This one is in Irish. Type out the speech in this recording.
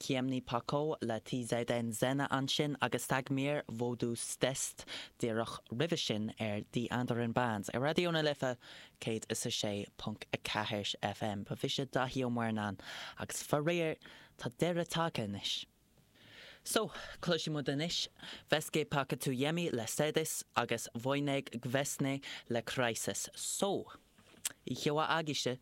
Ciemny Pokoj le TZN Zena ansin agus Dagmir Vodu Stest díreach roimhe sin ar Die Anderen Bands ar Raidió na Life 106.4 FM. Ba mhise Daithí Ó Muirneáin agus faraor tá deireadh tagtha anois. So, cloisfidh muid anois Wszystkie Pakutujemy le Sedys agus Wojnek Gwiezdny le Crisis. So, oíche mhaith agaibhse!